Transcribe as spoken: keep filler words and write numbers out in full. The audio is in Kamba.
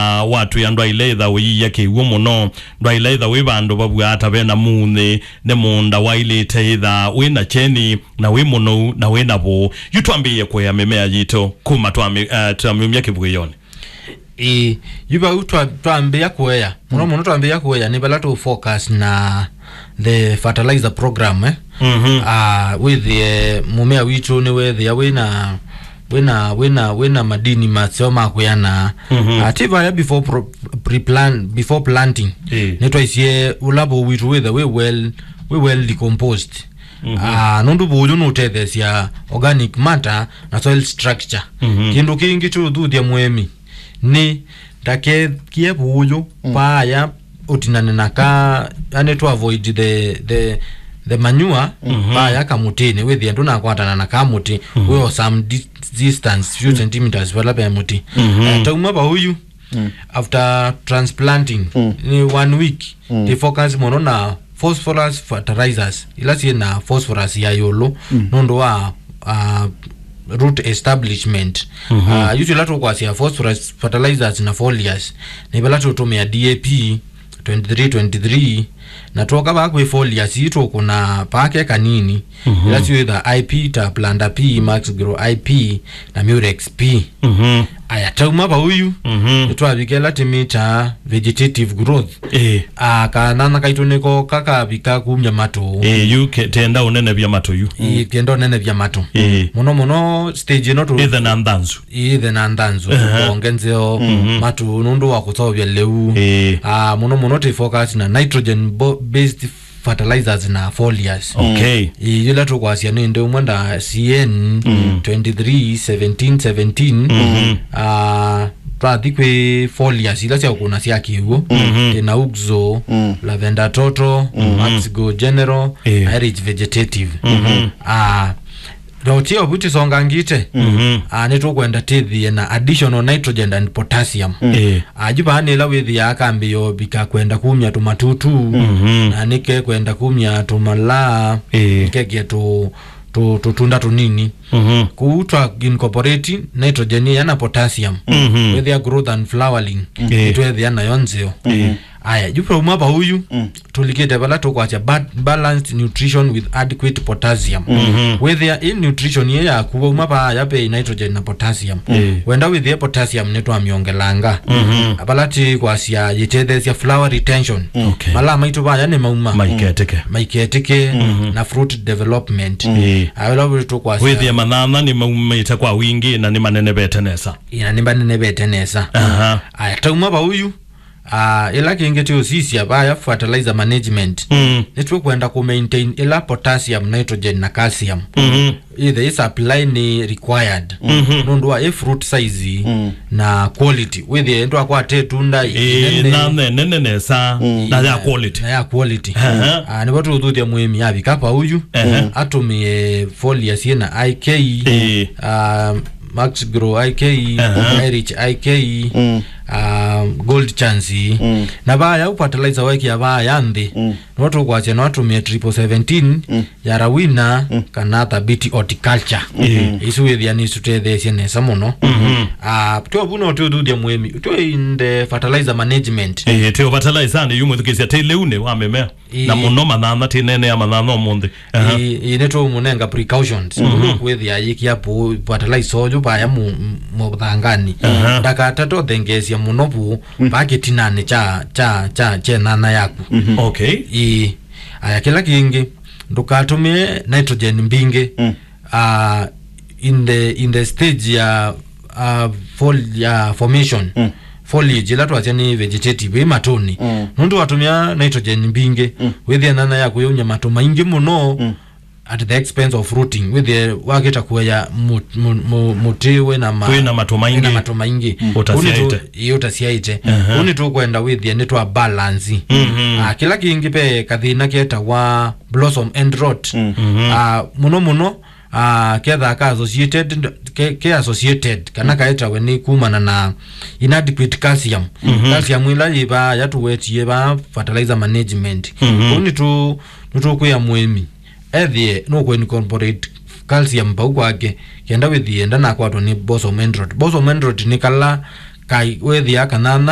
ah, watwĩa ndwaĩle ĩtha ũyĩya kĩw'ũ mũno, ndwaĩle ĩtha wĩ vandũ vavw'aa ta vena muunyĩ, nĩ mũũnda waĩlĩte ĩtha wĩ na kyeni, na wĩ mũnou, na wĩ na vũũ. Yu twambĩĩe kũea mĩmea yitũ kuma twamĩ-, eh, twamĩumya kĩvuĩonĩ. Ĩĩ, yu vau twa-, twambĩĩa kũea. Mũno mũno twambĩĩa kũea nĩ vala tũ focus na the fertilizer program, eh. Mhm. Ah, wĩthĩe mũmea witũ nĩwethĩa wĩna, wĩna, wĩna, wĩna madini maseo ma kwĩana. Mhm. Ah, ti vaya before pro-, pre-plan-, before planting. Ĩĩ. Nĩtwaisye ũla vũũ witũ wĩthe wĩ well, wĩ well decomposed. Mhm. Ah, nũndũ vũũ ũyũ nũtetheesya organic matter na soil structure. Mhm. Kĩndũ kĩngĩ kĩũthuthya mũĩmi nĩ ndakekie vũũ ũyũ, mm, paaya ũtinane na ka, yani to avoid the, the, the manure, mhm, paaya kamũtĩnĩ, wĩthĩe ndũnakwatana na ka mũtĩ, mhm, wĩ o some dis-, distance, few, mm, centimeters vala ve mũtĩ. Mhm. Eh, tauma vau yu, mm, after transplanting, mm, nĩ one week, mm, tĩ focus mũno na phosphorus fertilizers, ila syĩ na phosphorus ya ĩũlũ, mm, nũndũ wa, ah, root establishment. Mhm. Ah, yu ila tũkwasya phosphorus fertilizers na foliars, nĩ vala tũtũmĩa D A P twenty-three twenty-three, na twoka vaa kwĩ foliars, ii tũkũna vake kanini, mhm, ila syĩtha I P ta Planter P, Max Grow I P, na Murex P. Mhm. Aya, tauma vau yu, mhm, nĩtwavika ĩla tĩmĩtaa vegetative growth. Ĩĩ. Ah, kanyanya kaitũ nĩko kakavika kumya matũ. Ĩĩ, yu ke-, tenda ũnenevya matũ yu. Ĩĩ, kenda ũnenevya matũ. Ĩĩ. Mũno mũno stage ĩno tũ- Ĩthe na nthanzu. Ĩthe na nthanzu, ehe, tũkonge nzeo, mhm, matũ nũndũ wa kũseũvya lĩu. Ĩĩ. Ah, mũno mũno tĩ focus na nitrogen bo-, based fertilizers na foliars. Okay. Ĩĩ, yĩla tũkwasya nĩ ĩndĩ ũmwe nda C N, mm, twenty-three seventeen seventeen. Mhm. Ah, twathi kwĩ foliars ila sya ũkũna sya kĩw'ũ, mhm, ĩna Uxo, mm, Lavender Total, mhm, Max Go General, ĩĩ, na Rich Vegetative. Mhm. Ah, na ũtio vu tĩsongangĩte, mhm, ah, nĩtũkwenda tĩthĩe na additional nitrogen and potassium. Mm. Ĩĩ. Ah, yu vaa nĩ ĩla wĩthĩaa kambĩĩo vika kwenda kumya tũmatutu, mhm, na nĩke kwenda kumya tũmalaa, ĩĩ, nĩkeke tũ-, tũ-, tũtunda tũnini. Mhm. Kũu twa incorporate nitrogen ĩya na potassium. Mhm. Wĩthĩa growth and flowering, ĩĩ, nĩtwethĩa nayo nzeo. Ĩĩ. Aya, yu twauma vau yu, mm, tũlikĩte vala tũkwasya ba-, balanced nutrition with adequate potassium. Mhm. Wĩthĩa ĩ nutrition ĩ yaku, wauma vaya ve nitrogen na potassium. Mm. Wenda wĩthĩe potassium nĩtwamĩongelanga. Mhm. Vala tĩkwasya yĩtetheesya flower retention. Okay. Malaa maitũ vaya nĩ mauma. Maiketĩke. Maiketĩke, mhm, na fruit development. Mm. Ĩĩ. Aya, vala tũkwasya wĩthĩe manyanya nĩ maumĩte kwa wingĩ na nĩ manenevete nesa. Ĩĩ, na nĩ manenevete nesa. Aha. Aya, tauma vau yu, ah, ĩla kĩngĩ tũũsisya vaya fertilizer management. Mm. Nĩtũkwenda kũ maintain ĩla potassium, nitrogen na calcium. Mhm. Ĩthe ĩ supply nĩ required. Mhm. Nũndũ wa ĩ fruit size, mm, na quality. Wĩthĩe ndwakwata ĩtunda, ĩĩ, ĩnene, na nene nesa, mm, na ya quality. Na ya quality. Aha. Ah, nĩvo tũũthuthya mũĩmi avika vau yu, aha, atũmĩe foliar syĩ na I K, ĩĩ, ah, Max Grow I K, aha, Rich I K, mm, ah, Gold Chance. Mm. Na vaya ũ fertilizer wekĩa vaya nthĩ, mm, no tũkwasya no atũmĩe triple seventeen, mm, ya Rawina, mm, kana Thabiti Horticulture. Mm. Isu wĩthĩa nĩsũtetheesye nesa mũno. Mhm. Ah, tyo vu no tũthuthya mũĩmi. Tyo in the fertilizer management. Eh, tyo fertilizer nĩ yu mwĩthukĩĩsya tĩ lĩu nĩ wa mĩmea. Ĩĩ. Na mũno manyanya, tĩ nene ya manyanya ũmũnthĩ. Aha. Ĩĩ, ĩĩ, nĩtũũmũnenga precautions. Mhm. Nũndũ kwĩthĩa yĩkĩa vũũ, fertilizer ũyũ vaya mu-, mu-, mũthanganĩ. Aha. Ndakatate ũthengeesya mũno vũũ, mm, vaa kĩtinanĩ kya, kya, kya, kya nyanya yaku. Mhm. Okay. Ĩĩ. Aya, kĩla kĩngĩ, ndũkatũmĩe nitrogen mbingĩ. Mm. Ah, in the, in the stage ya, ah, fol-, ya formation, mm, foliage, ĩla twasya nĩ vegetative, ĩ matũnĩ. Mm. Nũndũ watũmĩa nitrogen mbingĩ, mm, wĩthĩa nyanya yaku yaumya matũ maingĩ mũno, mm, at the expense of fruiting. Wĩthĩe wakĩta kũea mũ-, mũ-, mũ-, mũtĩ wĩna ma-, wĩna matũ maingĩ, wĩna matũ maingĩ. Mm. Ũtasyaĩte. Ũnĩ tũ-, ĩ, ũtasyaĩte. Aha. Ũnĩ tũkwenda wĩthĩe nĩ twa balance. Mhm. Ah, kĩla kĩngĩ ve kathĩna ketawa blossom end rot. Mm. Mhm. Ah, mũno mũno, ah, kethaa ka associated, ke, ke associated, kana, mm, kaetawe nĩ kumana na inadequate calcium. Mhm. Calcium ĩla yĩ vaa yatũwetie vaa fertilizer management. Mhm. Kũu nĩtũ-, nĩtũkwĩa mũĩmi ethĩe nũkũ incorporate calcium vau kwake, kenda wĩthĩe ndanakwatwa nĩ blossom end rot. Blossom end rot nĩ kala kaĩ wethĩa kanana